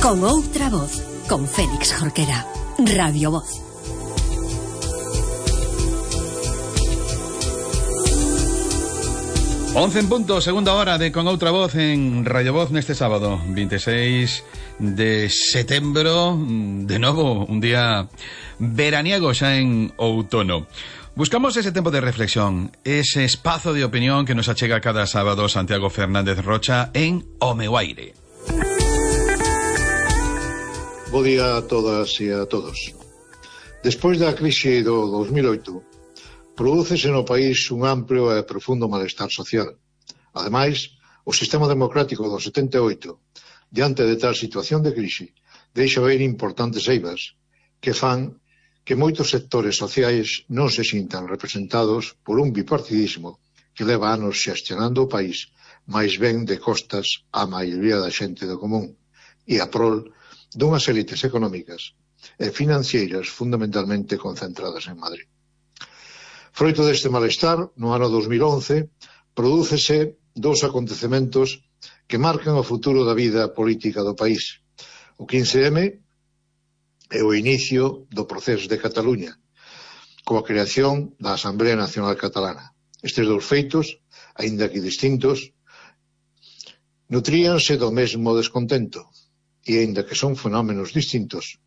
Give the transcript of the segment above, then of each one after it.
Con outra voz, con Félix Jorquera. Radio Voz. Once en punto, segunda hora de Con outra voz en Radio Voz neste sábado 26 de setembro. De novo, un día veraniego xa en outono. Buscamos ese tempo de reflexión, ese espazo de opinión que nos achega cada sábado Santiago Fernández Rocha en O Meu Aire. Bo día a todas e a todos. Despois da crise do 2008, prodúcese no país un amplio e profundo malestar social. Ademais, o sistema democrático do 78, diante de tal situación de crise, deixa ver importantes eivas que fan que moitos sectores sociais non se sintan representados por un bipartidismo que leva anos xestionando o país máis ben de costas á maioría da xente do común e a prol dunhas élites económicas e financeiras fundamentalmente concentradas en Madrid. Froito deste malestar, no ano 2011, prodúcese dous acontecementos que marcan o futuro da vida política do país. O 15M e o inicio do proceso de Cataluña, coa creación da Asamblea Nacional Catalana. Estes dous feitos, aínda que distintos, nutríanse do mesmo descontento, e aínda que son fenómenos distintos,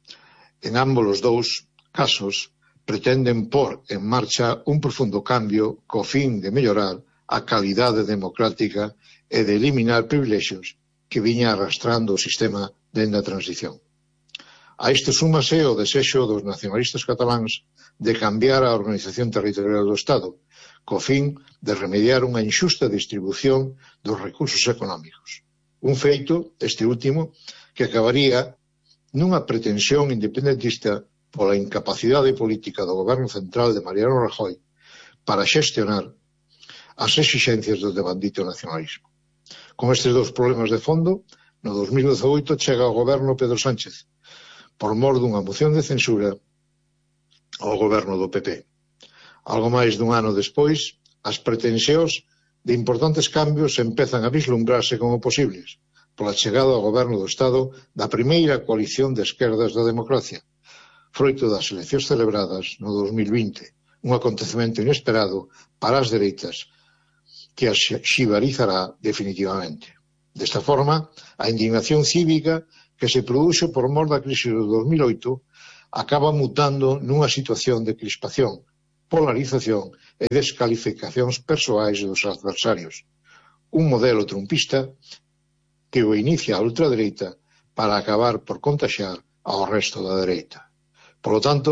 en ambos os dous casos pretenden pôr en marcha un profundo cambio co fin de mellorar a calidade democrática e de eliminar privilexios que viña arrastrando o sistema dende a transición. A isto súmase o desexo dos nacionalistas cataláns de cambiar a organización territorial do Estado, co fin de remediar unha injusta distribución dos recursos económicos. Un feito, este último, que acabaría nunha pretensión independentista pola incapacidade política do goberno central de Mariano Rajoy para xestionar as exixencias do devandito nacionalismo. Con estes dous problemas de fondo, no 2018 chega ao goberno Pedro Sánchez, por mor dunha moción de censura ao goberno do PP. Algo máis dun ano despois, as pretensións de importantes cambios empezan a vislumbrarse como posibles, pola chegada ao goberno do Estado da primeira coalición de esquerdas da democracia, froito das eleccións celebradas no 2020, un acontecemento inesperado para as dereitas que as xibarizará definitivamente. Desta forma, a indignación cívica que se produxo por mor da crise do 2008 acaba mutando nunha situación de crispación, polarización e descalificacións persoais dos adversarios. Un modelo trumpista que o inicia a ultradereita para acabar por contaxiar ao resto da dereita. Por lo tanto,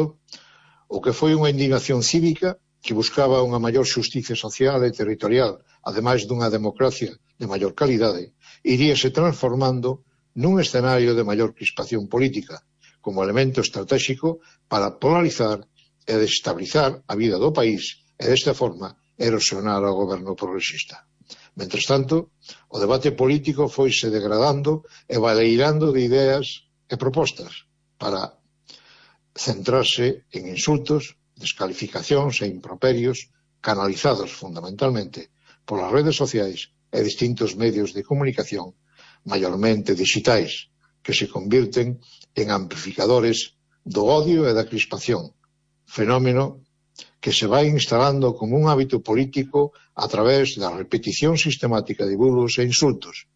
o que foi unha indignación cívica que buscaba unha maior xusticia social e territorial, ademais dunha democracia de maior calidade, iríase transformando nun escenario de maior crispación política, como elemento estratégico para polarizar e desestabilizar a vida do país e, desta forma, erosionar ao goberno progresista. Mentres tanto, o debate político foise degradando e baleirando de ideas e propostas para centrarse en insultos, descalificacións e improperios canalizados fundamentalmente polas redes sociais e distintos medios de comunicación, maiormente digitais, que se convirten en amplificadores do odio e da crispación, fenómeno que se vai instalando como un hábito político a través da repetición sistemática de bulos e insultos,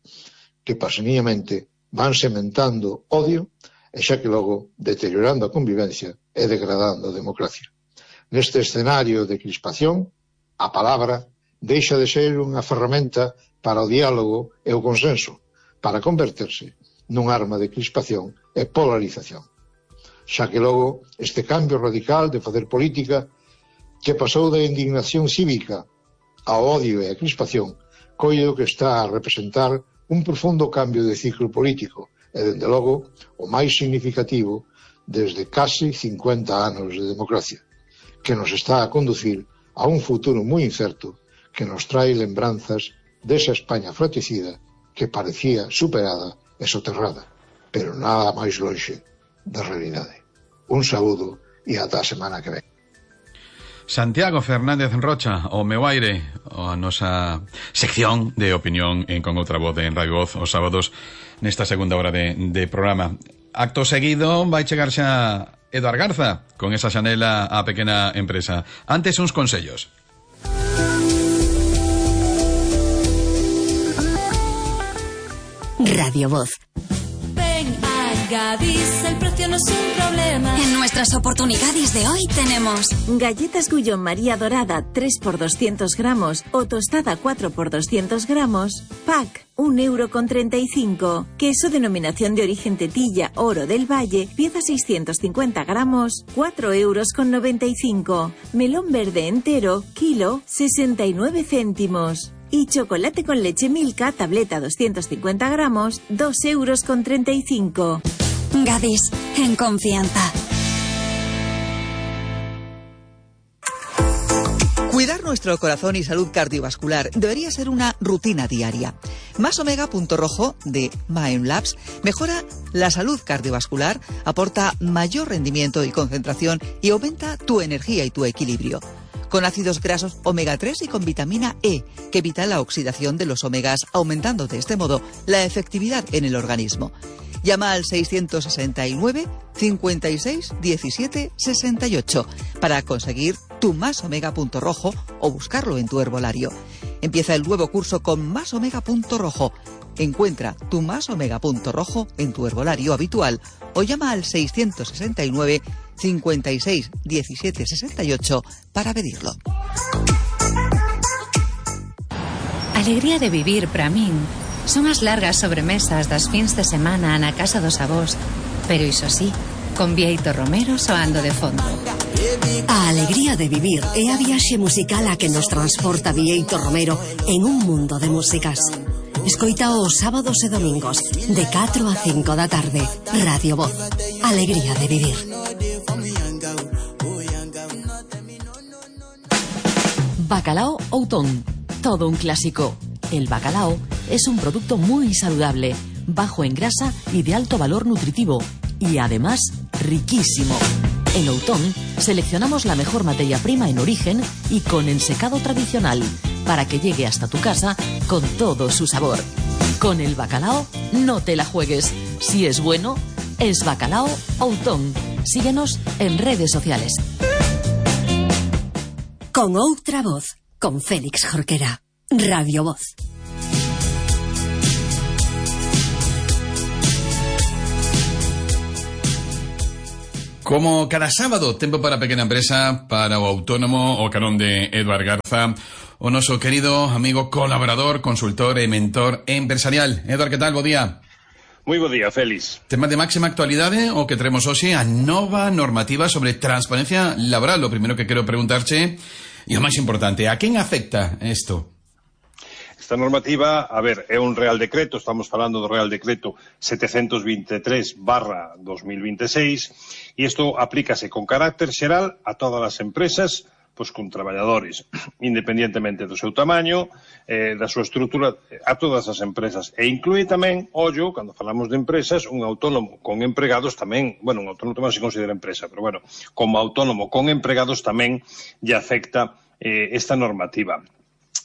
que paseniamente van sementando odio e xa que logo deteriorando a convivencia e degradando a democracia. Neste escenario de crispación, a palabra deixa de ser unha ferramenta para o diálogo e o consenso, para converterse nun arma de crispación e polarización. Xa que logo este cambio radical de facer política que pasou da indignación cívica ao odio e a crispación, coido que está a representar un profundo cambio de ciclo político e, dende logo, o máis significativo desde case 50 anos de democracia, que nos está a conducir a un futuro moi incerto que nos trae lembranzas desa España fratricida que parecía superada e soterrada, pero nada máis lonxe da realidade. Un saúdo e ata a semana que ven. Santiago Fernández Rocha, O Meu Aire, a nosa sección de opinión en Con Outra Voz en Radio Voz os sábados nesta segunda hora de programa. Acto seguido vai chegar xa Eduard Garza con esa xanela á pequena empresa. Antes uns consellos. Radio Voz. Ven a Gadis, el precio no es un problema. En nuestras oportunidades de hoy tenemos galletas Gullón María Dorada 3 por 200 gramos o tostada 4 por 200 gramos, pack 1,35 €. Queso denominación de origen Tetilla Oro del Valle, pieza 650 gramos, 4,95 €. Melón verde entero, kilo, 69 céntimos. Y chocolate con leche Milka, tableta 250 gramos, 2,35 €. Gadis, en confianza. Cuidar nuestro corazón y salud cardiovascular debería ser una rutina diaria. Más Omega Punto Rojo de Mindlabs mejora la salud cardiovascular, aporta mayor rendimiento y concentración y aumenta tu energía y tu equilibrio. Con ácidos grasos omega 3 y con vitamina E, que evita la oxidación de los omegas, aumentando de este modo la efectividad en el organismo. Llama al 669 56 17 68 para conseguir tu Más Omega Punto Rojo o buscarlo en tu herbolario. Empieza el nuevo curso con Más Omega Punto Rojo. Encuentra tu Más Omega Punto Rojo en tu herbolario habitual o llama al 669 56 17 68 para pedirlo. Alegría de vivir para min son as largas sobremesas das fins de semana na casa dos avós, pero iso sí, con Bieito Romero soando de fondo. A alegría de vivir é a viaxe musical a que nos transporta Bieito Romero en un mundo de músicas. Escoita os sábados e domingos de 4 a 5 da tarde. Radio Voz. Alegría de vivir. Bacalao Outón. Todo un clásico. El bacalao es un producto muy saludable, bajo en grasa y de alto valor nutritivo. Y además, riquísimo. En Outón seleccionamos la mejor materia prima en origen y con ensecado tradicional, para que llegue hasta tu casa con todo su sabor. Con el bacalao, no te la juegues. Si es bueno, es Bacalao Outón. Síguenos en redes sociales. Con outra voz, con Félix Jorquera. Radio Voz. Como cada sábado, tempo para a pequena empresa, para o autónomo, o carón de Eduard Garza, o noso querido amigo colaborador, consultor e mentor empresarial. Eduard, que tal? Bo día. Moi bo día, Félix. Tema de máxima actualidade, o que teremos hoxe, a nova normativa sobre transparencia laboral. O primeiro que quero preguntarche, e o máis importante, a quen afecta isto? Esta normativa, a ver, é un Real Decreto, estamos falando do Real Decreto 723/2026, e isto aplícase con carácter xeral a todas as empresas, pois con traballadores, independientemente do seu tamaño, da súa estrutura, a todas as empresas. E inclúe tamén, ollo, cando falamos de empresas, un autónomo con empregados tamén, bueno, un autónomo tamén se considera empresa, pero bueno, como autónomo con empregados tamén lle afecta esta normativa.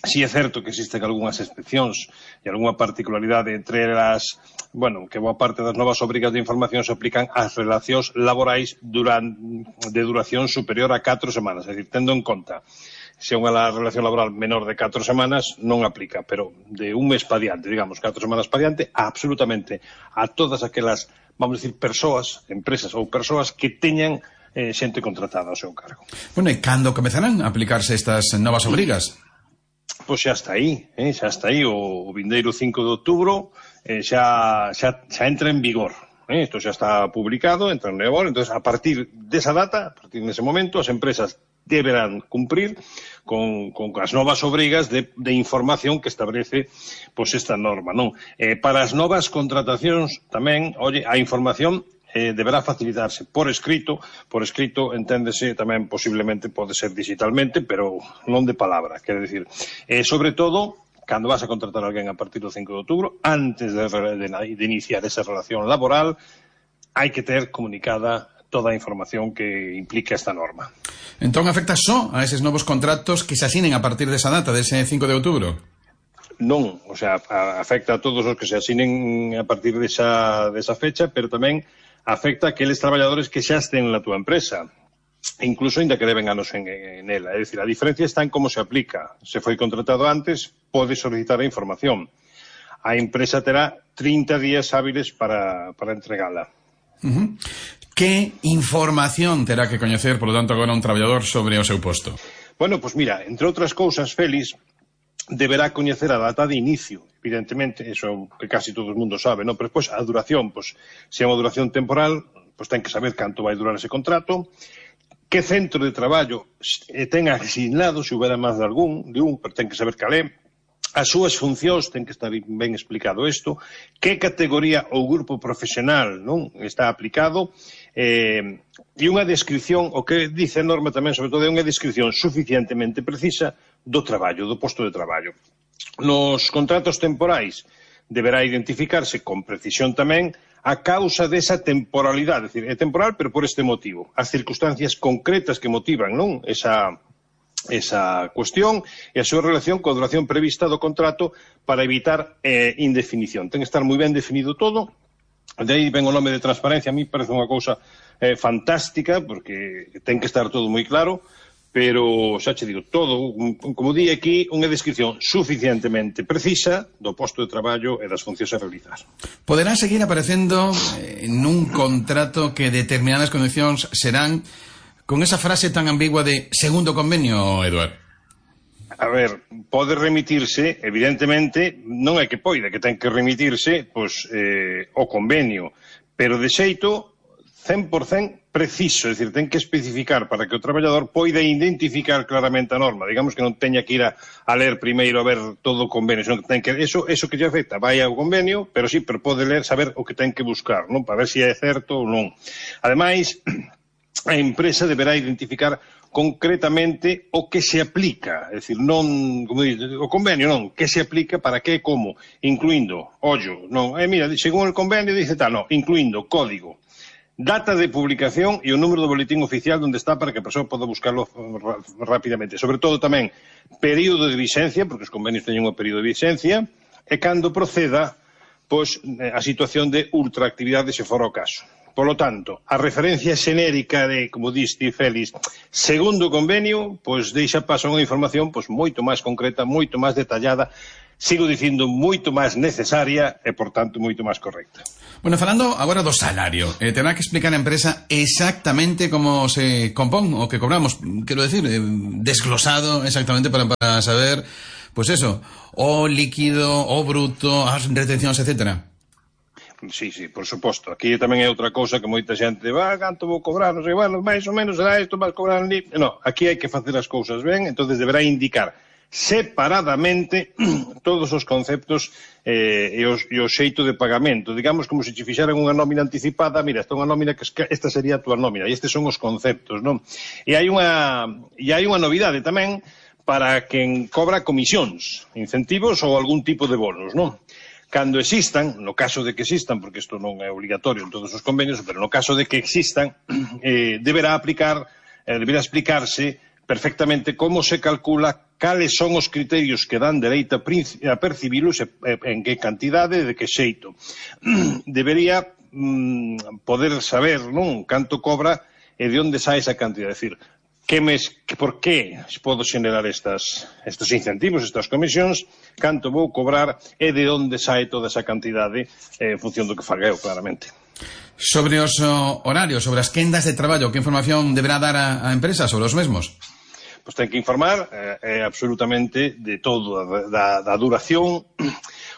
Si é certo que existen algunhas excepcións e algunha particularidade entre elas, bueno, que boa parte das novas obrigas de información se aplican ás relacións laborais de duración superior a 4 semanas, é dicir, tendo en conta se unha relación laboral menor de 4 semanas non aplica, pero de un mes pa diante, digamos, 4 semanas pa diante, absolutamente a todas aquelas, vamos a decir, persoas, empresas ou persoas que teñan xente contratada ao seu cargo. Bueno, e cando comezarán a aplicarse estas novas obrigas? Pois xa está aí, o vindeiro 5 de outubro xa entra en vigor. Isto xa está publicado, entra en vigor, entón a partir desa data, a partir dese momento, as empresas deberán cumprir con as novas obrigas de información que establece pois esta norma, non? Para as novas contratacións tamén, a información deberá facilitarse por escrito enténdese tamén posiblemente pode ser digitalmente, pero non de palabra, quero dicir, sobre todo cando vas a contratar a alguén a partir do 5 de outubro, antes de iniciar esa relación laboral, hai que ter comunicada toda a información que implica esta norma. Entón afecta só a eses novos contratos que se asinen a partir desa data, dese 5 de outubro? non, o sea, afecta a todos os que se asinen a partir desa fecha, pero tamén afecta a aqueles traballadores que xa estén na túa empresa, incluso ainda que deben anos en ela. É dicir, a diferencia está en como se aplica. Se foi contratado antes, pode solicitar a información. A empresa terá 30 días hábiles para entregala. Que información terá que coñecer, polo tanto, agora un traballador sobre o seu posto? Bueno, pois mira, entre outras cousas, Félix, deberá coñecer a data de inicio, evidentemente, eso que casi todo o mundo sabe, non? Pero despois a duración, pois, se é unha duración temporal, pois ten que saber canto vai durar ese contrato, que centro de traballo ten asignado, se houbera máis de un, pero ten que saber cal é, as súas funcións, ten que estar ben explicado isto, que categoría ou grupo profesional non está aplicado, e unha descripción, o que dice a norma tamén, sobre todo, é unha descripción suficientemente precisa do traballo, do posto de traballo. Nos contratos temporais deberá identificarse con precisión tamén a causa desa temporalidade, é dicir, é temporal, pero por este motivo. As circunstancias concretas que motivan non esa cuestión e a súa relación coa duración prevista do contrato para evitar indefinición. Ten que estar moi ben definido todo. De aí ven o nome de transparencia. A mí parece unha cousa fantástica, porque ten que estar todo moi claro, pero xa che digo, todo, como di aquí, unha descripción suficientemente precisa do posto de traballo e das funcións a realizar. Poderá seguir aparecendo nun contrato que determinadas condicións serán con esa frase tan ambigua de segundo convenio, Eduardo? A ver, pode remitirse, evidentemente, non é que poida, que ten que remitirse pois, o convenio, pero de xeito 100% preciso, é dicir, ten que especificar para que o traballador poida identificar claramente a norma, digamos que non teña que ir a ler primeiro a ver todo o convenio, senón que ten que, eso que lle afecta, vai ao convenio, pero sí, pero pode ler, saber o que ten que buscar, non, para ver se é certo ou non. Ademais, a empresa deberá identificar concretamente o que se aplica, é dicir, non, como dice, o convenio non, que se aplica para que e como, incluindo, ollo, non, mira, según el convenio dice tal, non, incluindo código, data de publicación e o número do boletín oficial onde está para que a persoa poda buscarlo rapidamente. Sobre todo tamén período de vigencia, porque os convenios teñen un período de vigencia, e cando proceda pois, a situación de ultraactividade se fora o caso. Por lo tanto, a referencia xenérica de, como diste, Félix, segundo o convenio, pois deixa paso a unha información pois moito máis concreta, moito máis detallada, sigo dicindo moito máis necesaria e, por tanto, moito máis correcta. Bueno, falando agora do salario, terá que explicar a empresa exactamente como se compón o que cobramos, quero decir, desglosado exactamente para saber, pois eso, o líquido, o bruto, as retencións, etcétera. Sí, por suposto. Aquí tamén é outra cousa que moita xente canto vou cobrar, non sei, bueno, máis ou menos será isto, vas cobrar ali. No, aquí hai que facer as cousas ben, entonces deberá indicar separadamente todos os conceptos e o xeito de pagamento. Digamos como se che fixeran unha nómina anticipada, mira, esta é unha nómina que esta sería a túa nómina, e estes son os conceptos, non? E hai unha novidade tamén para quen cobra comisións, incentivos ou algún tipo de bonos, non? Cando existan, no caso de que existan, porque isto non é obligatorio en todos os convenios, pero no caso de que existan, deberá explicarse perfectamente como se calcula, cales son os criterios que dan dereito a percibilos, en que cantidade, de que xeito. Debería poder saber, non, canto cobra e de onde sae esa cantidad, é dicir, por que podo xenerar estes incentivos, estas comisións, canto vou cobrar e de onde sae toda esa cantidade en función do que faga eu, claramente. Sobre os horarios, sobre as quendas de traballo, que información deberá dar a empresa sobre os mesmos? Pois ten que informar absolutamente de todo, da duración